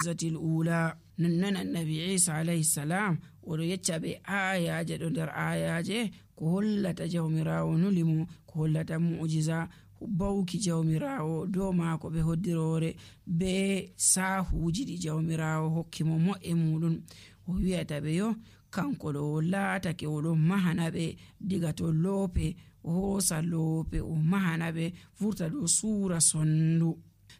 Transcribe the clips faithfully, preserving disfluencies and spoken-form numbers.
zatil ula. nonnon annabi Isa alayhi salam oɗo yecca ɓe ayaje ɗo nder ayaje ko hollata jawmirawo nulimo, ko hollata mu'jiza bawki jawmirawo dow maako ɓe hoddirore be sahuji ɗi jawmirawo hokki mo mo'e muɗum. o wi'ata ɓe yo kanko ɗo laatake oɗo mahana ɓe diga to loope, o hoosa loope o mahana ɓe vurta dow suura sondu.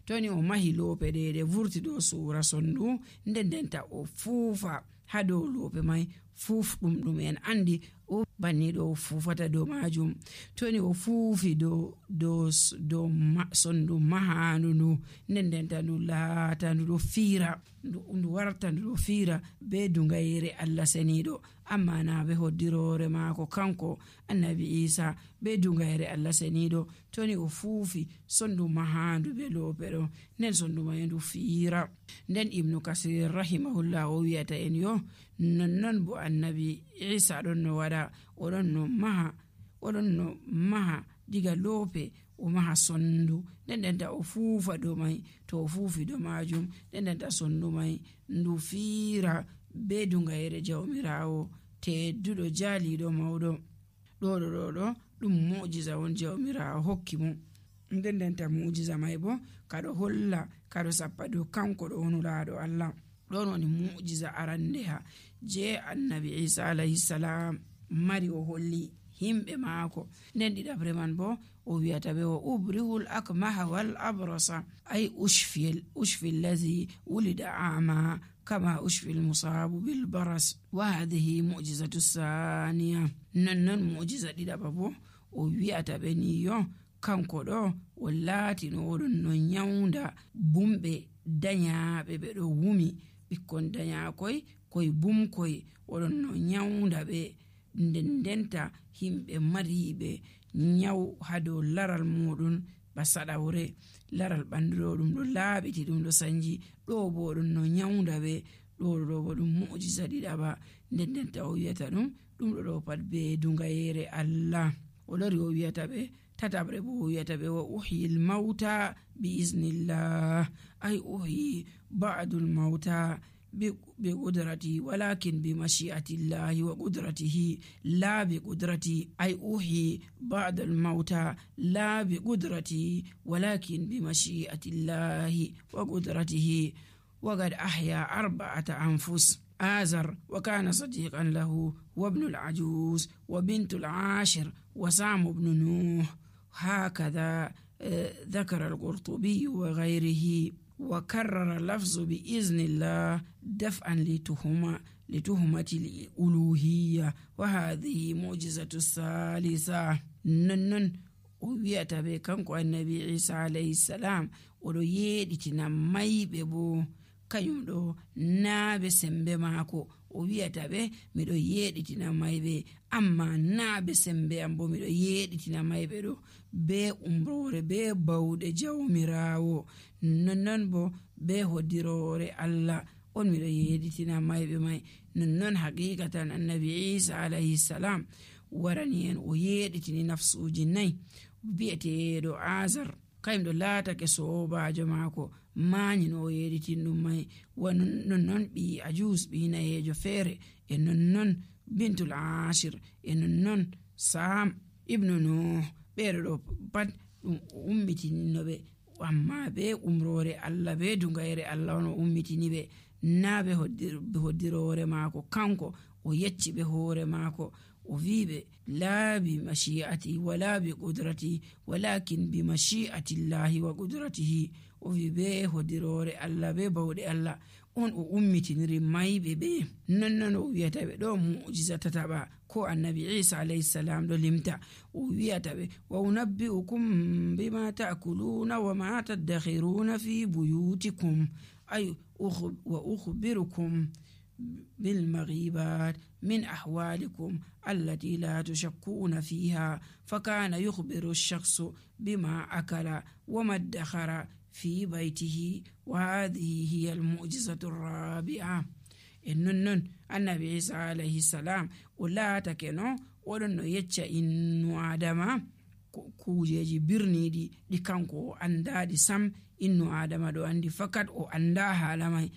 toni o mahi loope ɗeɗe vurti dow suura sondu, nden ndenta o fuufa ha dow loope mai, fuufɗum ɗum en andi o banni ɗo fuufata dow majum. toni o fuufi dow dow dow sondu mahandu ndu, nden ndenta ndu laata ndu ɗo fiira, ndu warta ndu ɗo fiira be dungayere Allah seniɗo, amma na be hoddirore maako kanko annabi Isa be dungayere Allah seniɗo. toni o fuufi sondu mahandu be loope ɗo, nden sondu mai ndu fiira. nden Ibnu Kasir rahimahullah o wiyata en yo nonnon bo annabi Isa ɗon no waɗa, oɗon no maha oɗon no maha diga loope o maha sondu, nden ndenta o fuufa dow mai, to o fuufi dow majum nden ndenta sondu mai ndu fiira be dungayere jawmirawo tedduɗo jaaliɗo mawɗo. ɗo ɗo ɗo ɗo ɗum mu'jiza won jawmirawo hokki mo, nden ndenta mu'jiza mai bo kaɗo holla kaɗo sappa dow kanko ɗo nulaɗo Allah. ɗon woni mu'jiza arandeha je annabi Isa alayhi salam mari o holli himɓe maako. nden ɗiɗabre man bo o wiyata ɓe o ubrihul akmaha wal abrasa ay ushfil ushfil ladhi wulida ama kama ushfil musabu bil baras wa hadhihi mu'jizatu saniya. nonnon mu'jiza ɗiɗaba bo o wiyata ɓe ni yo kanko ɗo o laatino oɗon no nyawnda bumɓe dañaaɓe ɓe ɗo wumi, ɓikkon dañaakoy koye bumkoy oɗon no nyawnda ɓe, nden ndenta himɓe mariɓe nyaw ha dow laral muɗum ba saɗawre, laral ɓandu ɗo ɗum ɗo laaɓiti ɗum ɗo sanji, ɗo bo ɗum no nyawnda ɓe. ɗo ɗo bo ɗum mu'jiza ɗiɗaɓa, nden ndenta o wiyata ɗum ɗum ɗo ɗo pat be dungayere Allah. o lori o wiyata ɓe tatabre bo o wiyata ɓe wa uhyil mauta bi iznillah ay uhyi ba'dul mauta بقدرتي ولكن بمشيئة الله وقدرته لا بقدرتي أي أوحي بعد الموتى لا بقدرتي ولكن بمشيئة الله وقدرته. وقد أحيا أربعة أنفس آزر وكان صديقا له وابن العجوز وبنت العاشر وسام بن نوح. هكذا ذكر القرطبي وغيره. وكرر اللفظ بإذن الله دفعا لتهمة لتهمة الألوهية. وهذه معجزة الثالثة. ننن ويأتى بكنكو النبي عيسى عليه السلام ولو يدتنا ميبه بو kanyum ɗo naaɓe sembe maako. o wiyata ɓe miɗo yeɗitina mayɓe, amma naaɓe sembe am bo miɗo yeɗitina mayɓe ɗo be umrore be bawɗe jawmirawo. nonnon bo be hoddirore Allah on miɗo yeɗitina mayɓe may. nonnon haqiqatan annabi Isa alayhi salam warani en o yeɗitini nafsuji nayyi. bi'eteɗo Azar kayum ɗo laatake sobajo maako mañi no o yeɗitin ɗum may. nonnon ɓi ajus ɓi nayejo feere, e nonnon bintul ashir, e nonnon sam ibnu nuh. ɓeɗo ɗo pat ɗum ummitino ɓe, amma be umrore Allah be dungayere Allah on o ummitini ɓe, na ɓe hoddirore maako kanko o yecci ɓe hoore maako. o viɓe la bi mashi'ati wala bi qudrati walakin bi mashi'ati llahi wa qudratihi. o vi be hoddirore Allah be bawɗe Allah on o ummitiniri mayɓe ɓe. nonnon o wiyata ɓe ɗo mu'jiza tataɓa ko annabi Isa alayhi salam ɗo limta. o wiyata ɓe wa unabbi'ukum bima ta'kuluna wa ma tadakhiruna fi buyutikum ay wa ukhbirukum بالمغيبات من أحوالكم التي لا تشكون فيها. فكان يخبر الشخص بما أكل وما ادخر في بيته. وهذه هي المعجزة الرابعة. إنن النبي عيسى عليه السلام ولا تكنو ولن يتشا إنو آدم kujeji birniɗi ɗi kanko o andadi sam innu adama ɗo andi fakat o anda hala mai